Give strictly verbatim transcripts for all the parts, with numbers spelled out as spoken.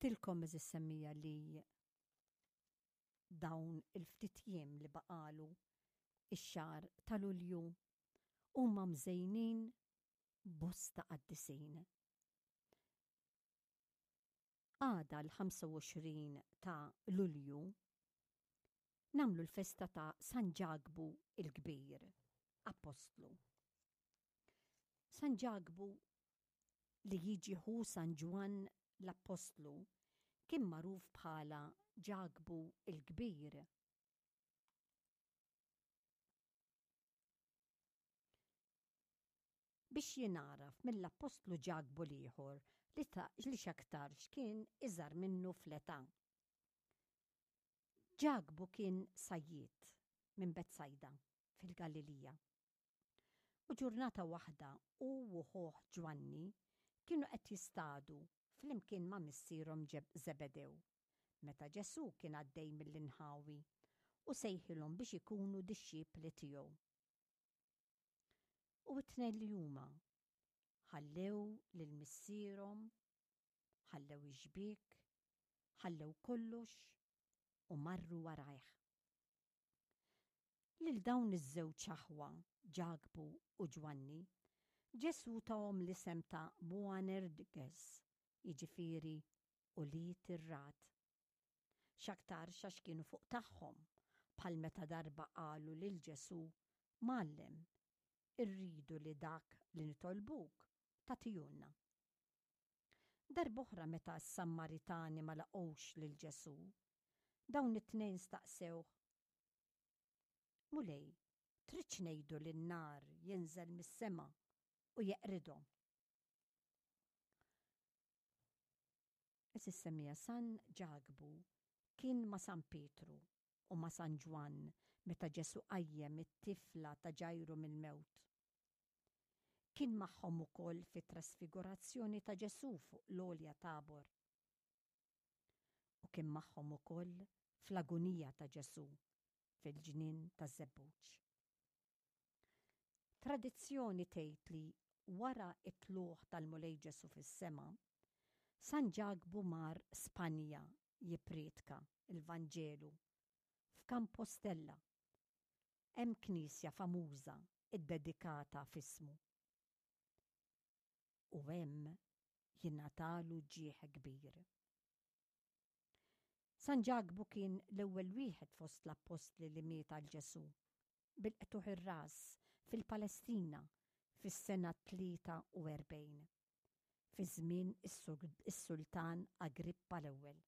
Għedtilkom, għeżież semmiegħa, li dawn il-ftit jiem li baqalu ix-xahar ta' Lulju huma mżejnin bosta qaddisin. Għada l-ħamsa u għoxrin ta' Lulju nagħmlu l-festa ta' San Ġakbu il-Kbir, Apostlu. San Ġakbu, li jiġi ħu San Ġwann l-Apostlu, kien magħruf bħala Ġakbu il-Kbir. Biex jingħaraf mill-Appostlu Ġakbu l-ieħor li li x'aktarx kien iżgħar minnu fl-età. Ġakbu kien sajjied minn Betsajda fil-Galilija. U ġurnata waħda hu u ħuh Ġwanni kienu qed jistadu flimkien ma' missierhom Zebedew meta Ġesù kien għaddej mill-inħawi u sejħilhom biex ikunu dixxipli tiegħu. U t-tnejn li huma ħallew lil missierhom, ħallew ix-xbiek, ħallew kollox u marru warajh. Lil dawn iż-żewġ aħwa, Ġakbu u Ġwanni, Ġesù tahom l-isem ta' Boanerges, jiġifieri ulied ir-ragħad. X'aktarx għax kienu fuq tagħhom, bħal meta darba qalu lil Ġesù: "Mgħallem, irridu li dak li nitolbuk tagħtihulna." Darb'oħra, meta s-Sammaritani ma laqgħux lil Ġesù, dawn it-tnejn staqsewh: "Mulej, tridx ngħidu li n-nar jinżel mis-sema u jeqridhom?" Għeżież semmiegħa, San Ġakbu kien ma' San Pietru u ma' San Ġwann meta Ġesù qajjem it-tifla ta' Ġajru mill-mewt. Kien magħhom ukoll fit-trasfigurazzjoni ta' Ġesù fuq l-għolja Tabor. U kien magħhom ukoll fl-agunija ta' Ġesù fil-ġnien taż-Żebbuġ. Tradizzjoni tgħid li wara t-tlugħ tal-Mulej Ġesù fis-sema, San Ġakbu mar Spanja jippriedka l-Vanġelu f'Kampostella. Hemm knisja famuża ddedikata f'ismu. U hemm jingħatalu ġieħ kbir. San Ġakbu kien l-ewwel wieħed fost l-appostli li miet għal Ġesù bil-qtugħ ir-ras fil-Palestina fis-sena tlieta u erbgħin, fi żmien is-Sultan Agrippa l-Ewwel.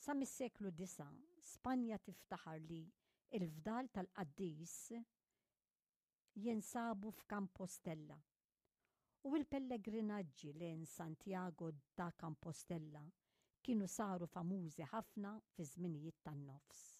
Sa mis-seklu disa', Spanja tiftaħar li l-fdal tal-qaddis jinsabu f'Kampostella u l-pellegrinaġġi lejn Santiago da Compostela kienu saru famużi ħafna fi żminijiet tan-nofs.